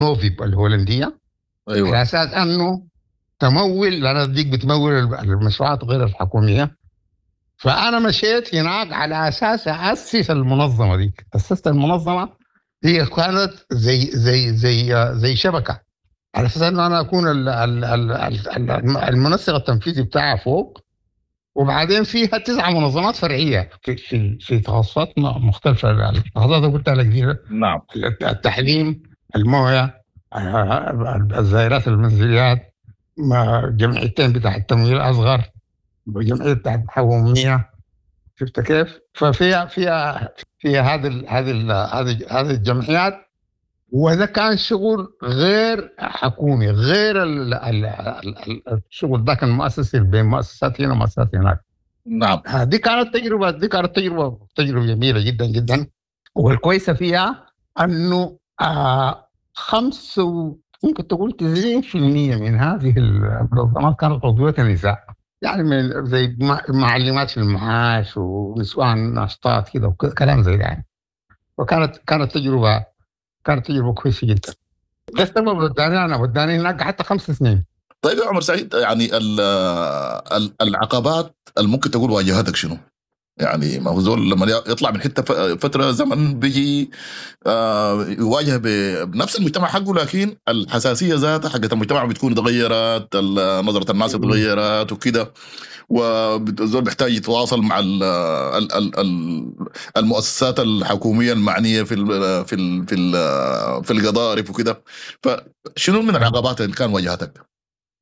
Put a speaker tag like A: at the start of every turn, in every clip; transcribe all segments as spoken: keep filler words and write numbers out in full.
A: نوفيب الهولندية.
B: ايوه.
A: على اساس انه تمول، لان ديك بتمول المشروعات غير الحكومية. فانا مشيت هناك على اساس اسس المنظمة دي. اسست المنظمة هي كانت زي زي زي زي شبكة، على اساس انه انا اكون ال ال ال ال المنسق التنفيذي بتاعها فوق، وبعدين فيها تسع منظمات فرعية في في في تخصصات مختلفة. التخصصات اللي قلت لك دي،
B: نعم،
A: التحليم، المويه، الزائرات المنزليات، جمعيتين بتاع التمويل الاصغر، جمعية بتاعت الحكومية. شفت كيف؟ ففيها فيها فيها هذه هذه هذه هذه الجمعيات، وهذا كان شغل غير حكومي، غير ال ال ال الشغل ذاك المؤسسي بين مؤسسات هنا ومؤسسات هناك.
B: نعم.
A: دي كانت تجربه، دي كانت تجربه تجربه جميلة جدا جدا. والكويسه فيها انه آه خمس ممكن تقول تسعين بالمئة من هذه المنظمات كانت عضوية نساء، يعني من زي معلمات في المعاش ونسوان ناشطات كده وكلام زي ده يعني. وكانت كانت تجربه كانت تجربه كويسة جدا. ده السبب وداني انا وداني هناك حتى خمس سنين.
B: طيب يا عمر سعيد، يعني العقبات اللي ممكن تقول واجهتك شنو؟ يعني ما هو زول لما يطلع من حتة فترة زمن بيجي يواجه بنفس المجتمع حقه، لكن الحساسية ذاتها حقت المجتمع بتكون تغيرت، نظره الناس تغيرت وكده، والزول بيحتاج يتواصل مع ال ال ال المؤسسات الحكومية المعنية في ال في ال في ال في القضارف وكده. فشنو من العقبات اللي كان واجهتك؟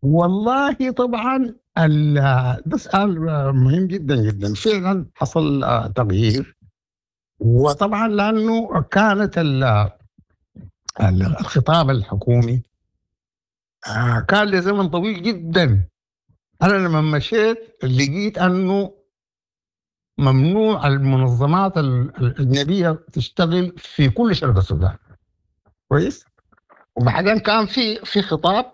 A: والله طبعا ده سؤال مهم جدا جدا. فعلا حصل تغيير، وطبعا لانه كانت الخطاب الحكومي كان لزمن طويل جدا. انا لما مشيت لقيت انه ممنوع المنظمات الاجنبية تشتغل في كل شرق السودان. كويس. وبعدين كان في في خطاب،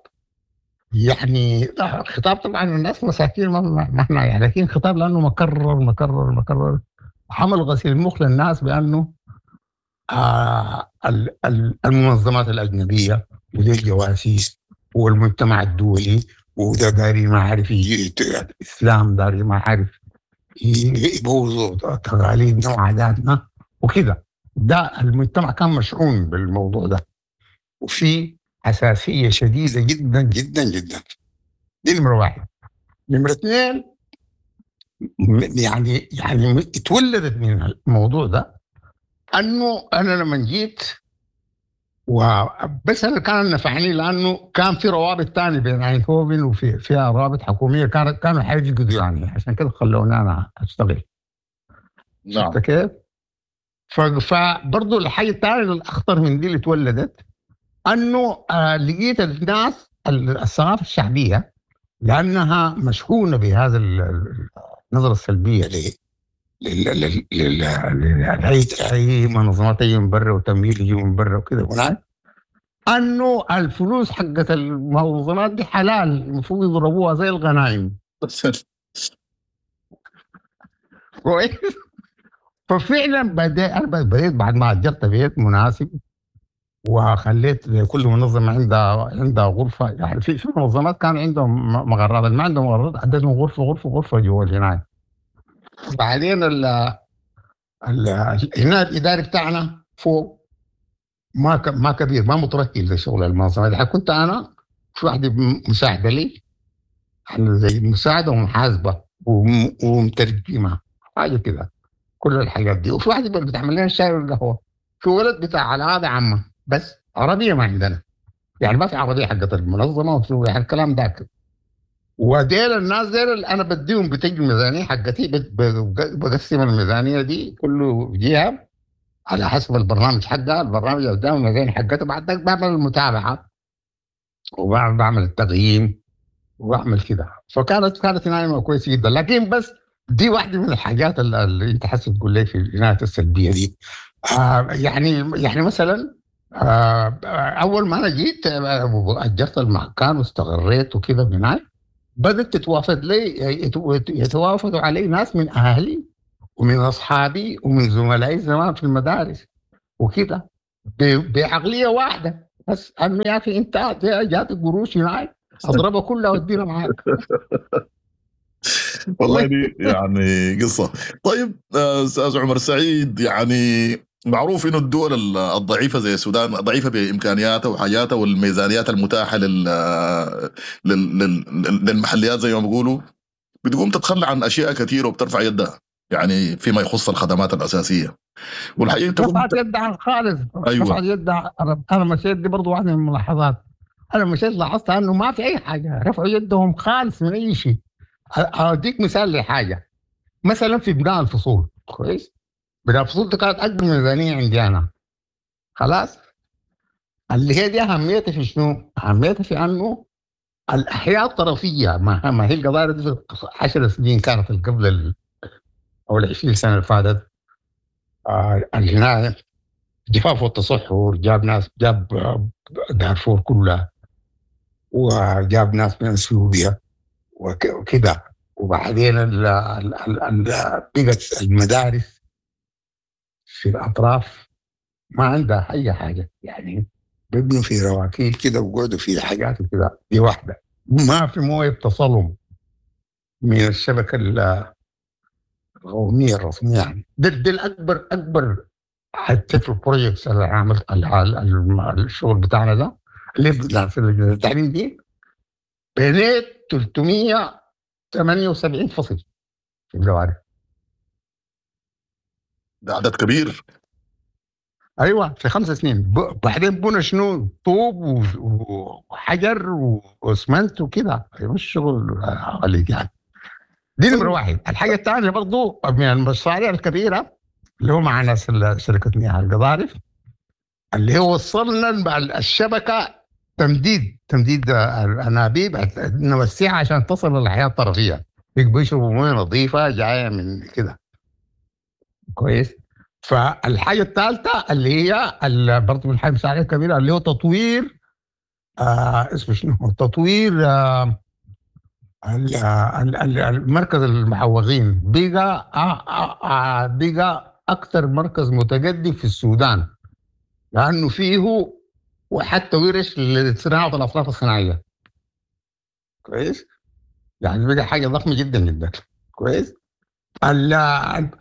A: يعني خطاب طبعا الناس مساكين ما احنا يعني، لكن خطاب لانه مكرر مكرر مكرر، حمل غسيل المخ للناس بانه آه المنظمات الاجنبية ودي الجواسيس والمجتمع الدولي وده داري ما عارف الاسلام داري ما عارف يبوظوا تقاليدنا وعاداتنا وكده. ده المجتمع كان مشحون بالموضوع ده، وفي حساسية شديدة جدا جدا جدا. دي نمرة واحد. نمرة اثنين، يعني يعني اتولدت من الموضوع ده انه انا لما جيت، وبس انا كان نفعني لانه كان في روابط ثانية بين اينهوفن وفي فيها روابط حكومية كانت كانوا حيفقدوا يعني، عشان كده خلوني انا اشتغل.
B: نعم.
A: شفت كيف؟ فبرضه الحاجة الثانية الاخطر من دي اللي اتولدت انه آه لقيت الناس الثقافة الشعبية لانها مشحونه بهذا النظرة السلبية ل اي منظمات تجي من برا وتمويل يجي من برا وكذا هناك، انه الفلوس حقت المنظمات دي حلال، المفروض يضربوها زي الغنائم. كويس. ففعلا بدأ انا بديت بعد ما اجرت بيت مناسب وخليت كل منظمة عندها عندها غرفة، يعني في في منظمات كان عندهم مغرات، ما عندهم مغرات عندهم غرفة غرفة غرفة جوا الهنايه. بعدين ال ال هنا الاداري بتاعنا فوق ما ما كبير، ما متركز لشغل المنظمة دي. كنت انا في واحدة مساعدة لي، يعني زي مساعدة ومحاسبه ومترجمه حاجة كده، كل الحاجات دي. وفي واحدة بتعمل لنا الشاي والقهوة، في ولد بتاع علاقة عامة بس عربية ما عندنا، يعني ما في عربية حقت المنظمة وفي يعني الكلام ذاك. وديل الناس ديل اللي انا بديهم بتجي الميزانية حقتي، بقسم الميزانية دي كل جهة على حسب البرنامج حقها، البرنامج قدام الميزانية حقته، بعد ذاك بعمل المتابعة وبعمل بعمل التقييم وبعمل كده. فكانت كانت نايمة كويسة جدا. لكن بس دي واحدة من الحاجات اللي انت حاسس تقول لي في العناية السلبية دي. آه يعني يعني مثلا آه اول ما انا جيت اجرت المكان واستقريت وكذا هناك، بدات تتوافد لي يتوافدوا علي ناس من اهلي ومن اصحابي ومن زملائي زمان في المدارس وكذا بعقلية واحدة. بس انه يا اخي انت جاتك قروش هناك اضربها كلها وادينا معاك.
B: والله دي يعني قصة. طيب استاذ عمر سعيد، يعني معروف انه الدول الضعيفة زي السودان ضعيفة بامكانياتها وحاجاتها والميزانيات المتاحة لل... لل... لل... للمحليات زي ما بيقولوا، بتقوم تتخلى عن اشياء كثيرة وبترفع يدها يعني فيما يخص الخدمات الاساسية. والحقيقة
A: رفعت يدها خالص.
B: أيوة.
A: رفعت يدها. انا مشيت، دي برضه واحدة من الملاحظات، انا مشيت لاحظت انه ما في اي حاجة، رفعوا يدهم خالص من اي شيء. اوديك مثال لحاجة، مثلا في بناء الفصول، كويس؟ بناء الفصول دي كانت اكبر ميزانية عندي انا، خلاص؟ اللي هي دي اهميتها في شنو؟ اهميتها في انه الاحياء الطرفيه، ما, ما هي القضايا دي في عشر سنين كانت قبل ال او ال عشرين سنة اللي فاتت، آه الهنا جفاف والتصحر جاب ناس، جاب دارفور كلها، وجاب ناس من اثيوبيا وكده، وبعدين ال ال ال بقت المدارس في الاطراف ما عندها اي حاجة، يعني بيبنوا في رواكيل كده وقعدوا في حاجات كده. دي واحدة. ما في مويه بتصلهم من الشبكة القومية الرسمية، يعني ده, ده الاكبر اكبر حتى في ال projects اللي عملت الشغل بتاعنا ده اللي في التعليم دي، بنيت ثلاثمية وثمانية وسبعين فصل في الجوارح.
B: ده عدد كبير.
A: ايوه، في خمس سنين. بعدين بنوا شنو؟ طوب وحجر واسمنت وكده، مش شغل غليظ يعني. دي نمره واحد. الحاجة الثانية برضو من المشاريع الكبيرة اللي هو مع ناس شركة مياه القضارف، اللي هو وصلنا الشبكة تمديد تمديد الانابيب نوسعها عشان تصل للحياة الطرفيه، بيشربوا مويه نظيفة جاية من كده، كويس. فالحاجه الثالثة اللي هي برضه من المشاريع الكبيرة اللي هو تطوير آه اسمه شنو؟ تطوير آه المركز المحوغين، بقى آه بقى اكثر مركز متقدم في السودان، لانه فيه وحتى ورش لصناعة الاطراف الصناعية، كويس؟ يعني بقى حاجة ضخمة جدا جدا، كويس؟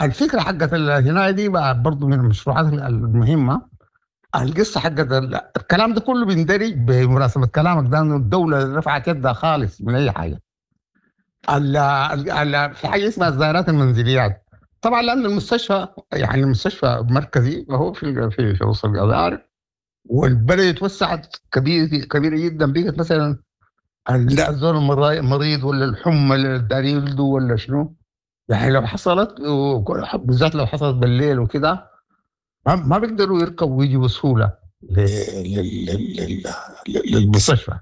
A: الفكرة حقت الهنايه دي برضه من المشروعات المهمة. القصة حقت الكلام ده كله بيندرج بمناسبة كلامك ده، انه الدولة رفعت يدها خالص من اي حاجة. ال ال في حاجة اسمها الزيارات المنزليات، طبعا لان المستشفى يعني المستشفى مركزي وهو في في في وسط القضارف، والبلد اتوسعت كبير كبيرة جدا، بقت مثلا الزول المريض ولا الحمى اللي داري يولدوا ولا شنو، يعني لو حصلت بالذات لو حصلت بالليل وكده ما بيقدروا يركبوا ويجوا بسهولة للمستشفى.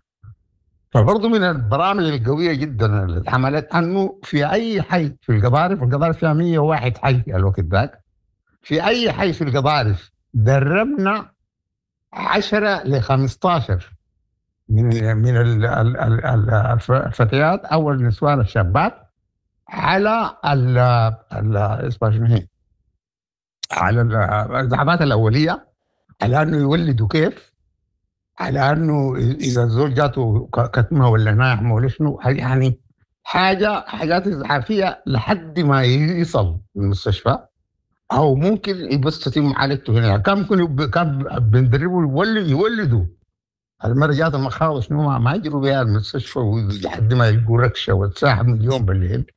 A: فبرضه من البرامج القوية جدا اللي اتعملت انه في اي حي في القضارف، القضارف فيها مية وواحد حي الوقت ذاك، في اي حي في القضارف دربنا عشرة ل خمستاشر من من الفتيات او النسوان الشابات على ال ال اسمها شنو هي؟ على الإسعافات الأولية، على أنه يولدوا كيف، على أنه إذا الزول جاته كتمة ولا ناعمة ولا شنو، يعني حاجة حاجات إسعافية لحد ما يصل المستشفى، أو ممكن بس تتم معالجته هنا. كان ممكن كان بندربه يولد يولدوا المرة جات المخاض شنو ما يجروا بها المستشفى لحد ما يلقوا ركشة والساعة مليون بالليل.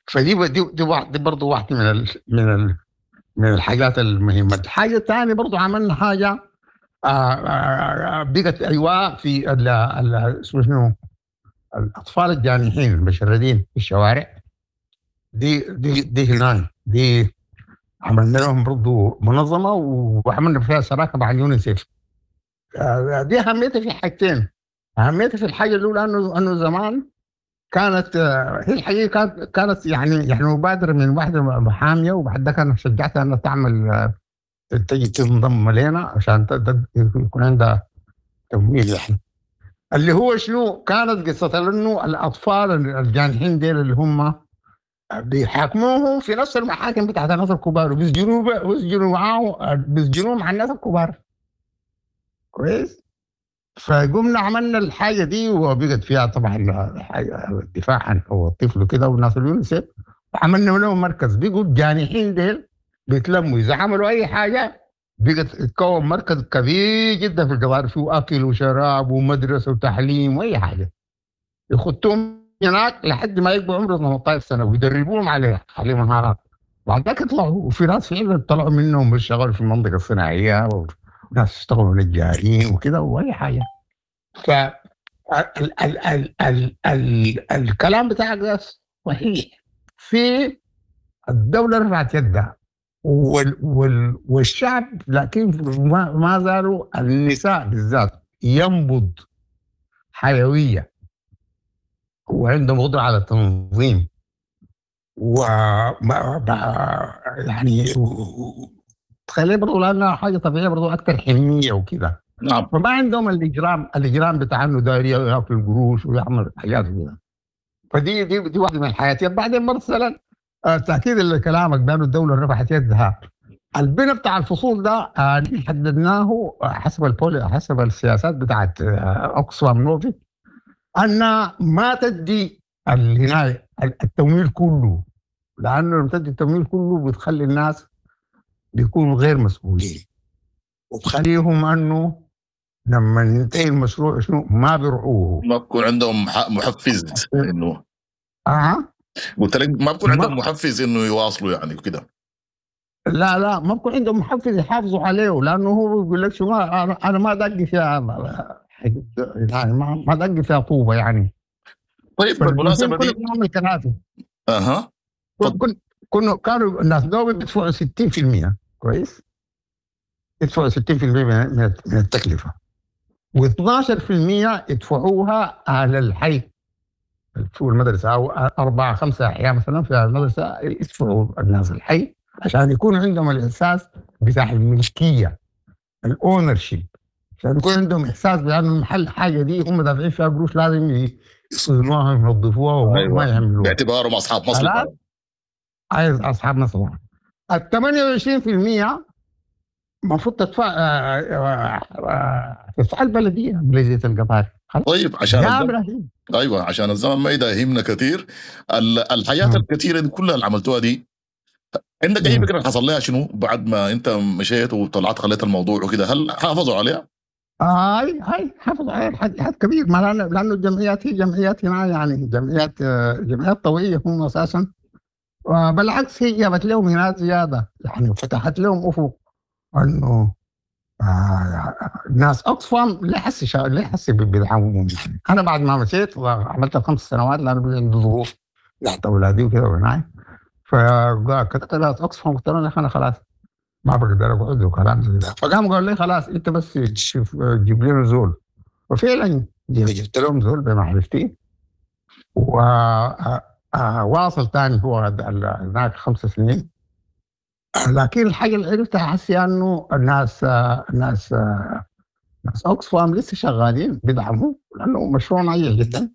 A: فدي دي دي, دي برضه واحدة من ال من ال من الحاجات المهمة. الحاجة الثانية برضه عملنا حاجة آآ آآ بقت ايواء في ال ال شنو الاطفال الجانحين المشردين في الشوارع، دي دي دي هناك دي عملنا لهم برضه منظمة وعملنا فيها شراكة مع اليونيسيف. دي اهميتها في حاجتين. اهميتها في الحاجة الاولى انه انه زمان كانت هي الحقيقة كانت كانت يعني يعني مبادرة من واحدة محاميه، وبعد ده كان شجعتها انها تعمل تجي تنضم لنا عشان يكون عندها تمويل. يعني اللي هو شنو كانت قصة انه الاطفال الجانحين ديل اللي هم بيحاكموهم في نفس المحاكم بتاعت الناس الكبار، وبيسجنوا بيسجنوا معاهم بيسجنوهم مع الناس الكبار، كويس؟ فقمنا عملنا الحاجة دي وبقت فيها طبعا الدفاع عن حقوق الطفل وكده وناس اليونيسف، وعملنا لهم مركز. بقوا الجانحين ديل بيتلموا اذا عملوا اي حاجة، بقت تتكون مركز كبير جدا في القضارف، فيه اكل وشراب ومدرسة وتعليم واي حاجة. يخطوهم هناك لحد ما يبقوا عمره ثمانية عشر سنة ويدربوهم عليه على مهارات، بعد ذاك يطلعوا. وفي ناس فعلا طلعوا منهم اشتغلوا في المنطقة الصناعية، وناس اشتغلوا نجارين وكده واي حاجة. ف ال ال ال ال ال الكلام بتاعك ده صحيح، في الدولة رفعت يدها وال وال والشعب، لكن ما, ما زالوا النساء بالذات ينبض حيوية وعندهم قدره على التنظيم و يعني تخيل برضه لانها حاجة طبيعية برضه اكثر حنيه وكده.
B: نعم.
A: فما عندهم الاجرام الاجرام بتاع انه داير ياكل قروش ويعمل حاجات كده. فدي دي دي واحدة من الحياتيات. بعدين مثلا تاكيد لكلامك بانه الدولة رفعت يدها، البناء بتاع الفصول ده حددناه حسب البولي حسب السياسات بتاعت اوكسفام نوفي، ان ما تدي هنا التمويل كله، لانه لما تدي التمويل كله بتخلي الناس بيكونوا غير مسؤولين، وبخليهم انه لما ينتهي المشروع شنو ما بيرعوه،
B: ما بكون عندهم محفز انه
A: اه
B: قلت لك ما بكون عندهم محفز انه يواصلوا يعني وكده.
A: لا لا ما بكون عندهم محفز يحافظوا عليه، لانه هو بيقول لك شو ما انا ما دقي فيها يعني ما ما دقي فيها طوبة يعني.
B: طيب بالمناسبة دي
A: كنا بنعمل كنافه.
B: اها
A: كن كنا كانوا الناس دوبي بيدفعوا ستين بالمية كويس، يدفعوا ستين بالمية من من التكلفة، واثناشر بالمية يدفعوها على الحي في المدرسة، او اربعة خمسة احياء مثلا في المدرسة يدفعوا الناس الحي عشان يكون عندهم الاحساس بتاع الملكية، ال ownership، عشان يكون عندهم احساس بان المحل حاجة دي هم دافعين فيها قروش لازم يصينوها وينظفوها وما
B: أيوة.
A: يعملوها
B: باعتبارهم اصحاب مصلحة.
A: عايز اصحاب مصلحة. ال ثمانية وعشرين بالمية المفروض تدفع تدفع البلدية بلديه القطار.
B: طيب عشان
A: يا
B: الزمن...
A: ابراهيم
B: ايوه عشان الزمن ما يداهمنا كثير، الحياة
A: مم.
B: الكثيرة دي كلها اللي عملتوها دي، عندك اي
A: مم.
B: فكرة حصل لها شنو بعد ما انت مشيت وطلعت خليت الموضوع وكده؟ هل حافظوا عليها؟
A: هاي هاي حافظ عليها حد حد كبير، ما لانه لانه الجمعيات هي جمعيات هنا يعني جمعيات جمعيات طوعيه هم اساسا، بالعكس هي جابت لهم هنا زيادة يعني، فتحت لهم افق انه آه ناس اوكسفام ليه حسي ليه حسي بيدعموهم. انا بعد ما مشيت وعملت خمس سنوات لانه عندي ظروف تحت اولادي وكذا وهناك، فكتبت ناس اوكسفام قلت لهم انا خلاص ما بقدر اقعد وكلام زي ده. فقام قالوا لي خلاص انت بس شوف جيب لنا زول، وفعلا جبت لهم زول بمعرفتي، وواصل ثاني هو هناك خمس سنين. لكن الحاجة اللي عرفتها حسي انه الناس الناس ناس اوكسفام لسه شغالين بيدعموا، لانه مشروع ناجح جدا.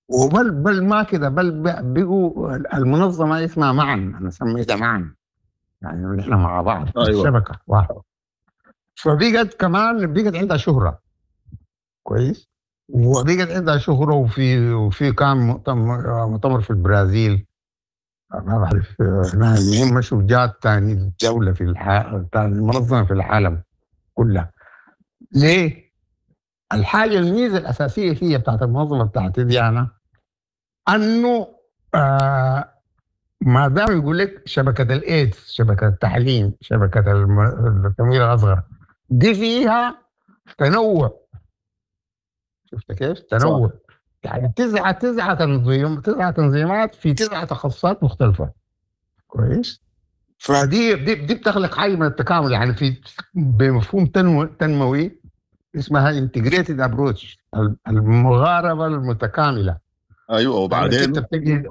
A: وبل بل ما كده، بل بقوا المنظمة اسمها معا، انا سميتها معا يعني نحن مع بعض.
B: أيوة.
A: الشبكة واحدة. فبقت كمان بقت عندها شهره كويس، وبقت عندها شهره، وفي وفي كان مؤتمر مؤتمر في البرازيل ما بعرف المهم مشوا جات ثاني دولة في الح... ثاني منظمة في العالم كلها. ليه؟ الحاجة الميزة الاساسية هي بتاعت المنظمة بتاعت ديانا انه آه ما دام يقول لك شبكة الايدز، شبكة التعليم، شبكة التمويل الاصغر، دي فيها تنوع. شفت كيف؟ تنوع يعني تسعة تسعة تنظيم تسعة تنظيمات في تسعة تخصصات مختلفة. كويس؟ فدي دي, دي بتخلق حاجة من التكامل، يعني في بمفهوم تنمو تنموي اسمها integrated approach، المغاربة المتكاملة.
B: ايوه وبعدين
A: انت بتجي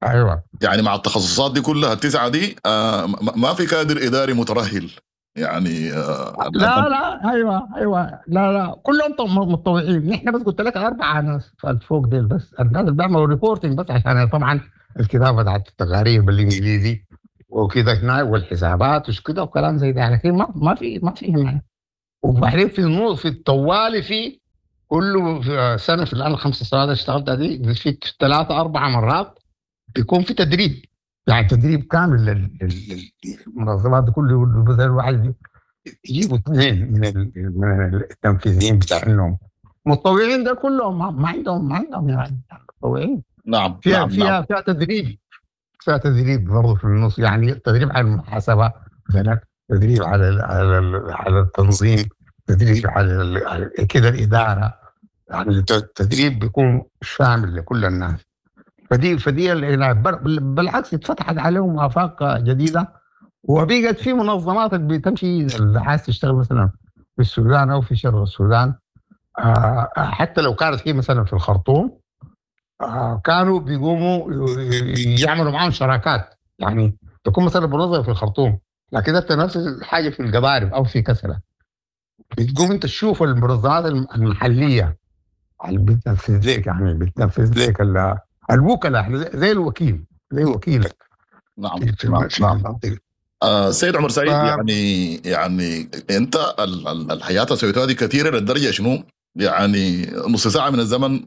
A: ايوه
B: يعني مع التخصصات دي كلها التسعة دي آه ما في كادر اداري مترهل يعني آه
A: لا لا ايوه ايوه لا لا كلهم متطوعين. نحن بس قلت لك اربعة ناس فوق ديل بس، الناس اللي بيعملوا reporting بس، عشان طبعا الكتابة بتاعت التقارير بالانجليزي وكذا هنا والحسابات وش كده وكلام زي ده، لكن ما ما في ما في هنا. وبعدين في النص في الطوالي في كل سنة في الان الخمس سنوات اللي اشتغلتها دي في ثلاثة اربع مرات بيكون في تدريب، يعني تدريب كامل للمنظمات كل مثلا واحد يجيبوا اثنين من من التنفيذيين بتاعهم متطوعين، ده كلهم ما عندهم ما عندهم يعني متطوعين.
B: نعم
A: فيها
B: نعم
A: فيها
B: نعم.
A: فيها تدريب، فيها تدريب برضه في النص، يعني تدريب على المحاسبة مثلا، تدريب على على على التنظيم، تدريب على كده الادارة، يعني التدريب بيكون شامل لكل الناس. فدي فدي بالعكس اتفتحت عليهم افاق جديدة، وبقت في منظمات اللي بتمشي اللي عايز تشتغل مثلا في السودان او في شرق السودان، حتى لو كانت هي مثلا في الخرطوم، كانوا بيقوموا يعملوا معاهم شراكات، يعني تكون مثلا منظمة في الخرطوم لكن انت نفس الحاجة في القضارف او في كسله، بتقوم انت تشوف المنظمات المحلية اللي بتنفذ لك، يعني بتنفذ لك الوكلاء زي الوكيل زي وكيلك.
B: نعم
A: في
B: نعم
A: نعم.
B: آه سيد عمر سعيد،
A: ف...
B: يعني يعني انت الحياة سويتها دي كثيرة للدرجة شنو؟ يعني نص ساعة من الزمن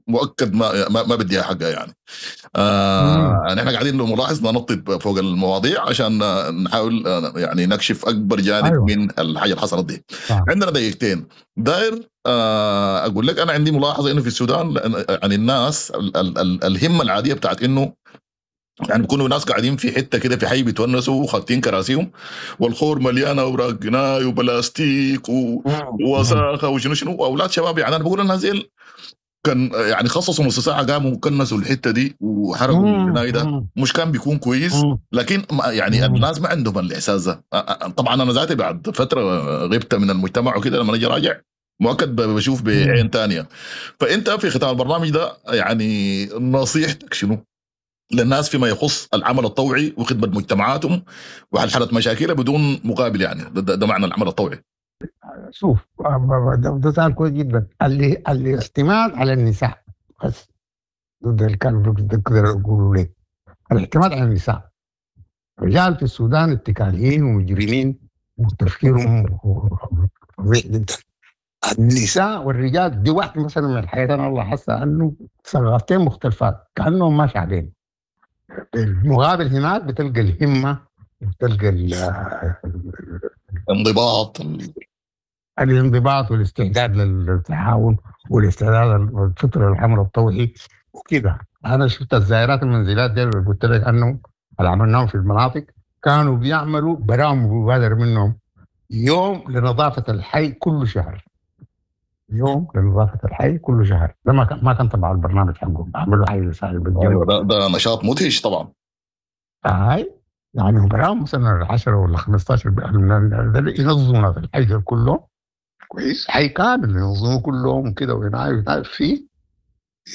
B: مؤكد ما ما, ما بديها حقها يعني. آه نحن قاعدين لو ملاحظ ننطط فوق المواضيع عشان نحاول يعني نكشف اكبر جانب
A: أيوة.
B: من الحاجة اللي حصلت دي.
A: آه.
B: عندنا دقيقتين داير آه اقول لك انا عندي ملاحظة انه في السودان يعني الناس ال ال ال الهمه العادية بتاعت انه يعني بيكونوا ناس قاعدين في حتة كده في حي بيتونسوا وخاتين كراسيهم والخور مليانة اوراق جناي وبلاستيك و... ووساخه وشنو شنو، واولاد شباب يعني انا بقول الناس ديل كان يعني خصصوا نص ساعة قاموا كنسوا الحتة دي وحرقوا الجناي ده، مش كان بيكون كويس؟ لكن يعني الناس ما عندهم الاحساس ده. طبعا انا ذاتي بعد فترة غبت من المجتمع وكده، لما اجي راجع مؤكد بشوف بعين ثانية. فانت في ختام البرنامج ده يعني نصيحتك شنو للناس فيما يخص العمل الطوعي وخدمة مجتمعاتهم وحلحلة مشاكلها بدون مقابل؟ يعني ده, ده معنى العمل الطوعي.
A: شوف ده سؤال كويس جدا. اللي الاعتماد على النساء بس، ده اللي كان بقدر اقوله لك، الاعتماد على النساء. الرجال في السودان اتكاليين ومجرمين وتفكيرهم فظيع جدا. النساء والرجال دي واحدة مثلا من الحياة انا والله حاسه انه ثقافتين مختلفات كانهم ماشي عليهم. بالمقابل هناك بتلقى الهمة، بتلقى
B: الانضباط،
A: الانضباط والاستعداد للتعاون والاستعداد للفطر العمل الطوعي وكده. أنا شفت الزائرات المنزلات دي اللي قلت لك أنه اللي عملناهم في المناطق كانوا بيعملوا برامج مبادرة منهم يوم لنظافة الحي كل شهر، يوم لنظافة الحي كل شهر. ده ما كان ما كان تبع البرنامج حقهم، عملوا حي لسائل
B: بالجنوب. ده, ده نشاط مدهش طبعا.
A: هاي يعني براهم مثلا عشرة ولا خمسة عشر ينظموا في الحي كله كويس، حي كامل ينظموا كلهم كده وينعي فيه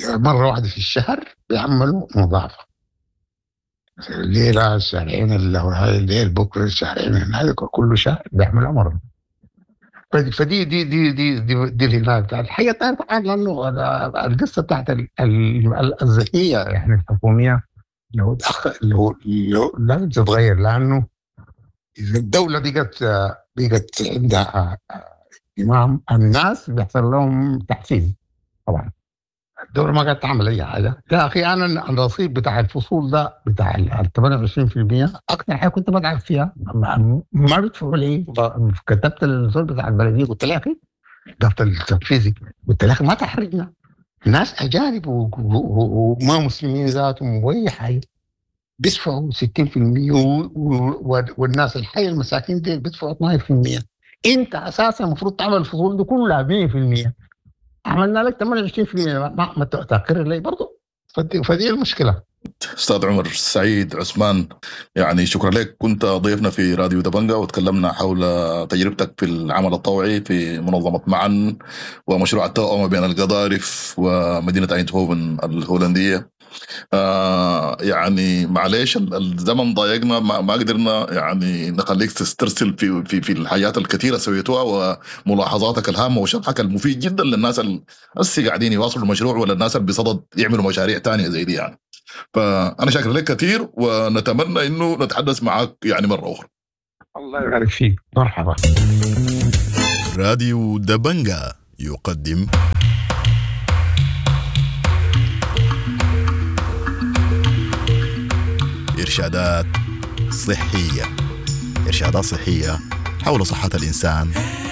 A: مرة واحدة في الشهر بيعملوا نظافة الليلة الشهرين الليل بكرة الشهرين هذا كل شهر بيعملوا مرة. فدي دي دي دي دي, دي الهناك الحقيقة الثانية طبعا، لانه القصة بتاعت الذكية يعني الحكومية لو لو لو لازم تتغير، لانه اذا الدولة بقت بقت عندها اهتمام الناس بيحصل لهم تحفيز. طبعا الدولة ما قاعدة تعمل اي حاجة. يا اخي انا الرصيد بتاع الفصول ده بتاع ال ثمانية وعشرين بالمية اكثر حاجة كنت بتعب فيها، ما بدفعوا لي. كتبت للزول بتاع البلدية قلت له يا اخي ضبط التنفيذي، قلت له يا اخي ما تحرجنا، ناس اجانب وما مسلمين ذاتهم واي حاجة بيدفعوا ستين بالمية والناس الحي المساكين دي بيدفعوا اثنا عشر بالمية. انت اساسا المفروض تعمل الفصول دي كلها مية بالمية، عملنا لك ثمانية وعشرين بالمية ما, ما تقرر لي برضه. فدي, فدي المشكلة.
B: استاذ عمر سعيد عثمان، يعني شكرا لك، كنت ضيفنا في راديو دبنجا وتكلمنا حول تجربتك في العمل الطوعي في منظمة معا ومشروع التوأمه بين القضارف ومدينة ايندهوفن الهولندية. آه يعني معلش الزمن ضايقنا، ما, ما قدرنا يعني نخليك تسترسل في في في الحاجات الكثيرة سويتوها وملاحظاتك الهامة وشرحك المفيد جدا للناس اللي هسه قاعدين يواصلوا المشروع ولا الناس اللي بصدد يعملوا مشاريع ثانية زي دي يعني. فانا شاكر لك كثير ونتمنى انه نتحدث معك يعني مرة اخرى.
A: الله يبارك فيك، مرحبا.
B: راديو دبنجا يقدم إرشادات صحية. إرشادات صحية حول صحة الإنسان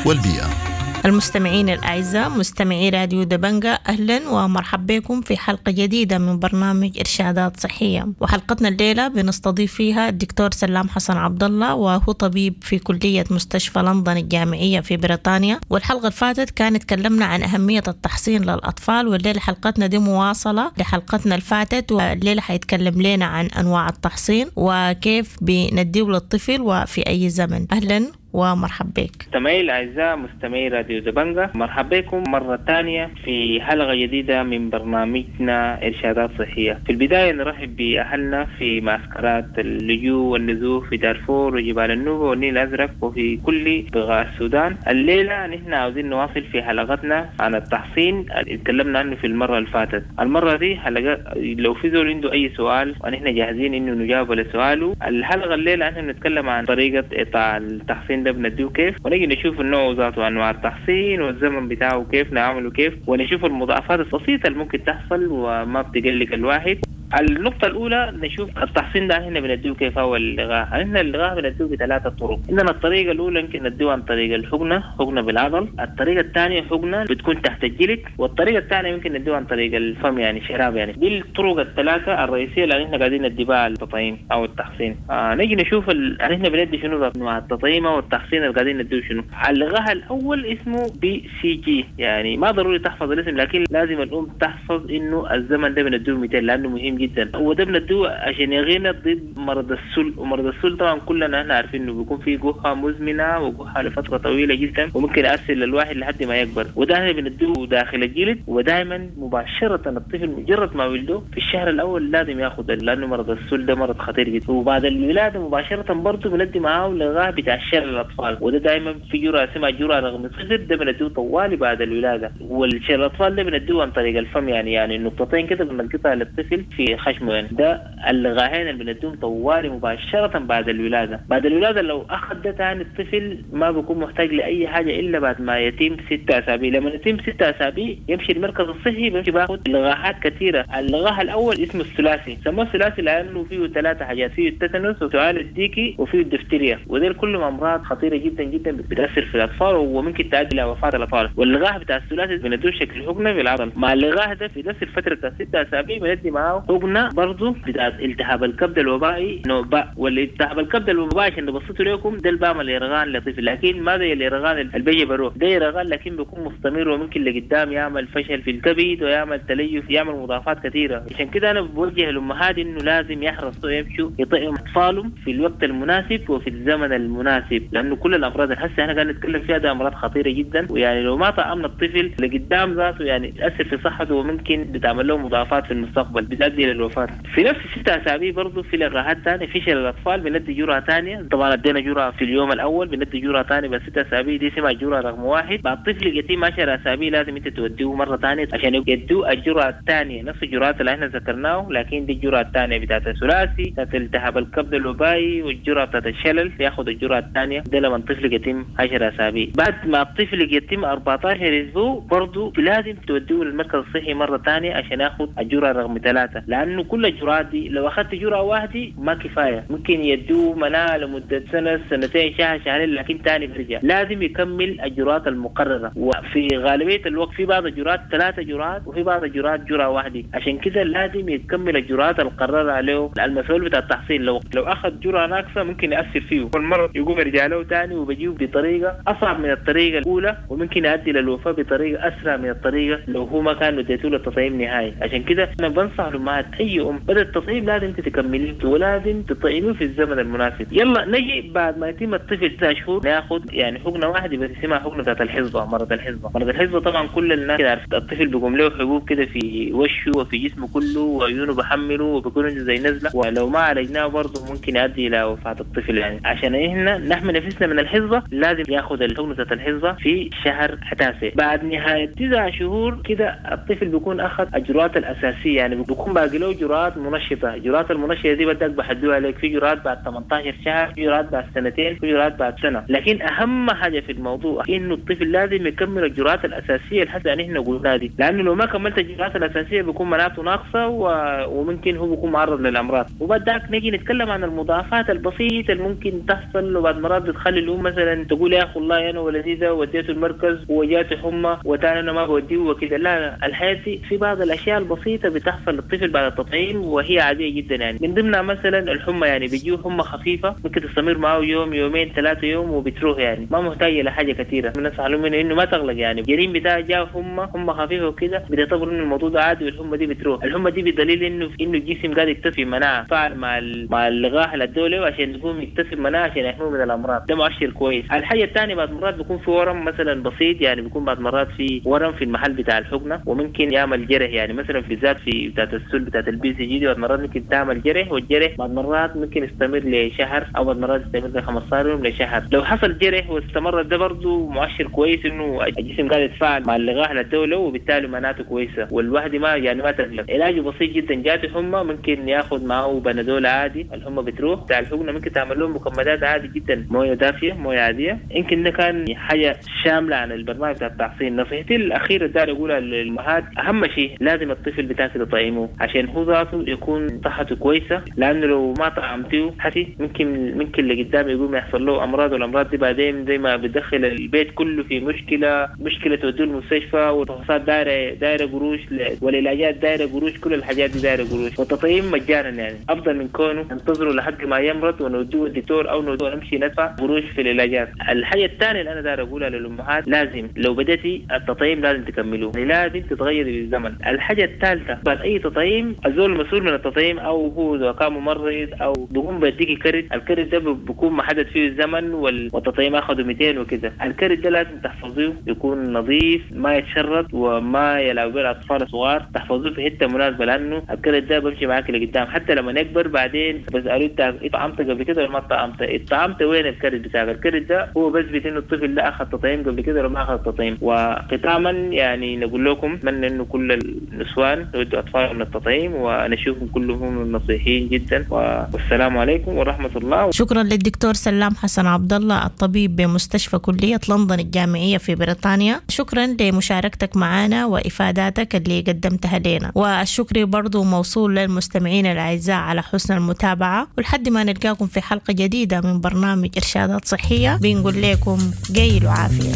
B: والبيئة.
C: المستمعين الأعزاء مستمعي راديو دبنجا، أهلا ومرحبا بكم في حلقة جديدة من برنامج إرشادات صحية. وحلقتنا الليلة بنستضيف فيها الدكتور سلام حسن عبد الله، وهو طبيب في كلية مستشفى لندن الجامعية في بريطانيا. والحلقة اللي فاتت كانت تكلمنا عن أهمية التحصين للأطفال، والليلة حلقتنا دي مواصلة لحلقتنا اللي فاتت، والليلة حيتكلم لنا عن أنواع التحصين وكيف بنديه للطفل وفي أي زمن. أهلا ومرحبا بك.
D: مستمعي الأعزاء مستمعي راديو دبنجا، مرحبا بكم مرة ثانية في حلقة جديدة من برنامجنا إرشادات صحية. في البداية نرحب بأهلنا في معسكرات اللجوء والنزوح في دارفور وجبال النوبة والنيل الأزرق وفي كل بقاع السودان. الليلة نحن عاوزين نواصل في حلقتنا عن التحصين اللي تكلمنا عنه في المرة اللي فاتت. المرة دي حلقة لو في زول عنده أي سؤال ونحن جاهزين إنه نجاوب على سؤاله. الحلقة الليلة نحن بنتكلم عن طريقة إعطاء التحصين ده بنديه كيف، ونجي نشوف النوع ذاته وانواع التحصين والزمن بتاعه كيف نعمله كيف، ونشوف المضاعفات البسيطة اللي ممكن تحصل وما بتقلق الواحد. النقطة الأولى نشوف التحصين ده احنا بنديه كيف هو اللقاح. احنا اللقاح بنديه بثلاثة طرق. عندنا الطريقة الأولى يمكن نديه عن طريق الحقنة، حقنة بالعضل. الطريقة الثانية حقنة بتكون تحت الجلد، والطريقة الثانية يمكن نديه عن طريق الفم يعني شراب يعني. دي الطرق الثلاثة الرئيسية اللي احنا قاعدين ندي بها التطعيم أو التحصين. آه نجي نشوف ال... احنا بندي شنو انواع التطعيم أو التحصين اللي قاعدين نديه شنو. اللقاح الأول اسمه BCG، يعني ما ضروري تحفظ الاسم لكن لازم الأم تحفظ إنه الزمن ده بنديه مئتين لأنه مهم جدا. وده بندوه عشان يغينا ضد مرض السل، ومرض السل طبعا كلنا احنا عارفين انه بيكون فيه جحة مزمنة وجحه لفترة طويلة جدا وممكن يأثر للواحد لحد ما يكبر. وده احنا بندوه داخل الجلد، ودائما مباشرة الطفل مجرد ما ولده في الشهر الاول لازم ياخذ، لانه مرض السل ده مرض خطير جدا. وبعد الولادة مباشرة برضه بندي معاه لقاح بتاع الشلل الاطفال، وده دائما في جرعة اسمها جرعة رقم صفر، ده بندوه طوالي بعد الولادة. والشلل الاطفال ده بندوه عن طريق الفم، يعني يعني نقطتين كده بنلقطها للطفل في خشمه يعني. ده اللقاحين اللي بنديهم طوالي مباشرة بعد الولادة. بعد الولادة لو أخذ ده تاني الطفل ما بيكون محتاج لأي حاجة إلا بعد ما يتم ستة أسابيع. لما يتم ستة أسابيع يمشي المركز الصحي بيمشي باخد لقاحات كثيرة. اللقاح الأول اسمه الثلاثي، سموه الثلاثي لأنه فيه ثلاثة حاجات، فيه التتنس وسعال الديكي وفيه الدفتيريا، ودول كلهم أمراض خطيرة جدا جدا بتأثر في الأطفال وممكن تؤدي إلى وفاة الأطفال. واللقاح بتاع الثلاثي بندوه شكل حقنة بالعضل. مع اللقاح ده في نفس الفترة بتاع ستة أسابيع بندي معاه حقنة برضه بتاعت التهاب الكبد الوبائي نوع باء. والالتهاب الكبد الوبائي عشان نبسطه لكم ده البام اليرغان لطيف، لكن ما زي اليرغان اللي بيجي بروح، ده يرغان لكن بيكون مستمر وممكن لقدام يعمل فشل في الكبد ويعمل تليف، يعمل مضاعفات كثيرة. عشان كده انا بوجه الامهات انه لازم يحرصوا يمشوا يطعموا اطفالهم في الوقت المناسب وفي الزمن المناسب، لانه كل الامراض اللي هسه احنا قاعدين نتكلم فيها ده امراض خطيرة جدا، ويعني لو ما طعمنا الطفل لقدام ذاته يعني تاثر في صحته وممكن بتعمل له مضاعفات في المستقبل بتؤدي للوفاة. في نفس الستة أسابيع برضه في لقاحات ثانية في شلل الأطفال بندي جرعة ثانية، طبعا ادينا جرعة في اليوم الأول بندي جرعة ثانية بس ستة أسابيع دي اسمها جرعة رقم واحد. بعد طفل يتم عشر أسابيع لازم أنت توديه مرة ثانية عشان يدوه الجرعة الثانية، نفس الجرعات اللي احنا ذكرناه لكن دي الجرعة الثانية بتاعت الثلاثي بتاعت التهاب الكبد الوبائي والجرعة بتاعت الشلل، ياخذ الجرعة الثانية ده لما الطفل يتم عشر أسابيع. بعد ما الطفل يتم أربعة عشر أسبوع برضه لازم توديه للمركز الصحي مرة ثانية عشان ياخذ الجرعة رقم ثلاثة، لأنه كل الجرعات دي لو أخذت جرعة واحدة ما كفاية، ممكن يدوه مناعة لمدة سنة سنتين شهر شهرين لكن تاني بيرجع. لازم يكمل الجرعات المقررة، وفي غالبية الوقت في بعض الجرعات ثلاثة جرعات وفي بعض الجرعات جرعة واحدة، عشان كده لازم يكمل الجرعات المقررة عليه المسؤول بتاع التحصيل. لو لو أخذ جرعة ناقصة ممكن يأثر فيه والمرض يقوم يرجع له تاني وبيجيه بطريقة أصعب من الطريقة الأولى، وممكن يؤدي للوفاة بطريقة أسرع من الطريقة لو هو ما كان اديته له التطعيم نهائي. عشان كده أنا بنصح الأمهات أي أم بدأ التطعيم لازم تكمليه ولازم تطعميه في الزمن المناسب. يلا نجي بعد ما يتم الطفل تسع شهور ناخذ يعني حقنة واحدة بس اسمها حقنة بتاعت الحصبة، مرض الحصبة. مرض الحصبة طبعا كل الناس كده عارف الطفل بيقوم له حبوب كده في وشه وفي جسمه كله وعيونه بحمله وبيكون عنده زي نزلة، ولو ما عالجناه برضه ممكن يؤدي إلى وفاة الطفل. يعني عشان احنا نحمي نفسنا من الحصبة لازم ياخذ الحقنة بتاعت الحصبة في شهر تاسع. بعد نهاية تسع شهور كده الطفل بيكون أخذ الجرعات الأساسية، يعني بيكون باقي باقي له جرعات منشطه. جرعات المنشطه دي بدك بحدوها لك، في جرعات بعد ثمانية عشر شهر، في جرعات بعد سنتين، في جرعات بعد سنة. لكن اهم حاجة في الموضوع انه الطفل لازم يكمل الجرعات الاساسية اللي حتى نحن قلناها دي، لانه لو ما كملت الجرعات الاساسية بيكون مناعته ناقصه و... وممكن هو بيكون معرض للامراض. وبعد ذاك نيجي نتكلم عن المضاعفات البسيطة اللي ممكن تحصل، وبعد مرات بتخلي الام مثلا تقول يا اخي والله انا ولدي ده وديته المركز وجاته حمى وتاني انا ما بوديه وكده. لا لا، الحياة دي في بعض الاشياء البسيطة بتحصل للطفل بعد التطعيم وهي عادية جدا يعني، من ضمنها مثلا الحمى، يعني بيجيه حمى خفيفة ممكن تستمر معه يوم يومين ثلاثة يوم وبتروح، يعني ما محتاجه لحاجة كثيرة. بنصح لهم انه ما تغلق، يعني الجنين بتاعه جاء حمى حمى خفيفة وكده بتعتبر انه الموضوع ده عادي والحمى دي بتروح. الحمى دي بدليل انه انه الجسم قاعد يكتسب مناعة فعل مع مع اللقاح اللي ادوه عشان يكون يكتسب مناعة عشان يحميه من الامراض، ده مؤشر كويس. الحاجة الثانية بعد مرات بيكون في ورم مثلا بسيط، يعني بيكون بعد مرات في ورم في المحل بتاع الحقنة وممكن يعمل جرح، يعني مثلا بالذات في بتاعت السل بتاعت ال BCG دي بعد مرات ممكن تعمل جرح، والجرح بعد مرات ممكن يستمر لشهر او بعد مرات يستمر ل خمسة عشر يوم لشهر. لو حصل جرح واستمر ده برضه مؤشر كويس انه الجسم قاعد يتفاعل مع اللقاح للدولة وبالتالي مناعته كويسة، والواحد ما يعني ما تقلق. علاجه بسيط جدا، جاته حمى ممكن ياخذ معه بنادول عادي، الحمى بتروح. بتاع الحقنة ممكن تعمل لهم مكمدات عادي جدا، مويه دافيه مويه عادية. يمكن ده كان حاجة شاملة عن البرنامج بتاع التحصين. نصيحتي الاخيرة داير اقولها للامهات، اهم شيء لازم الطفل بتاعك تطعمه عشان هو ذاته يكون صحته كويسة، لانه لو ما طعمتيه حسي ممكن ممكن اللي قدام يقوم يحصل له امراض، والامراض دي بعدين زي ما بتدخل البيت كله في مشكلة، مشكلة توديه المستشفى، والفحوصات دايرة دايرة قروش، والعلاجات دايرة قروش، كل الحاجات دي دايرة قروش. والتطعيم مجانا يعني افضل من كونه ننتظره لحد ما يمرض ونوديه الدكتور او نوديه نمشي ندفع قروش في العلاجات. الحاجة الثانية اللي انا داير اقولها للامهات، لازم لو بدأتي التطعيم لازم تكملوه، يعني لازم تتغيري بالزمن. الحاجة الثالثة بعد اي تطعيم الزول المسؤول من التطعيم او هو اذا كان ممرض او بيقوم بيديكي كرت، الكرت ده بيكون محدد فيه الزمن والتطعيم اخذه مئتين وكده. الكرت ده لازم تحفظيه، يكون نظيف ما يتشرد وما يلعب به الاطفال الصغار، تحفظوه في حتة مناسبة لانه الكرت ده بمشي معاك لقدام حتى لما يكبر. بعدين بسالوه انت اتطعمت قبل كده ولا ما اتطعمت؟ اتطعمت وين الكرت بتاعك؟ الكرت ده هو بثبت انه الطفل ده اخذ تطعيم قبل كده ولا ما اخذ تطعيم. وختاما يعني نقول لكم اتمنى انه كل النسوان يودوا اطفالهم للتطعيم ونشوفهم كلهم نصيحين جدا، والسلام عليكم ورحمة الله.
C: شكرا للدكتور سلام حسن عبد الله الطبيب بمستشفى كليه لندن الجامعية في بريطانيا، شكرا لمشاركتك معنا وافاداتك اللي قدمتها لنا، والشكر برضو موصول للمستمعين الاعزاء على حسن المتابعة، ولحد ما نلقاكم في حلقة جديدة من برنامج ارشادات صحية بنقول لكم قيل وعافيه.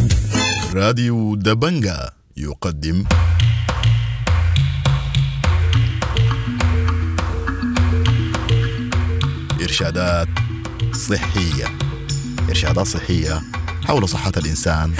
B: راديو دبنجا يقدم إرشادات صحية، إرشادات صحية حول صحة الإنسان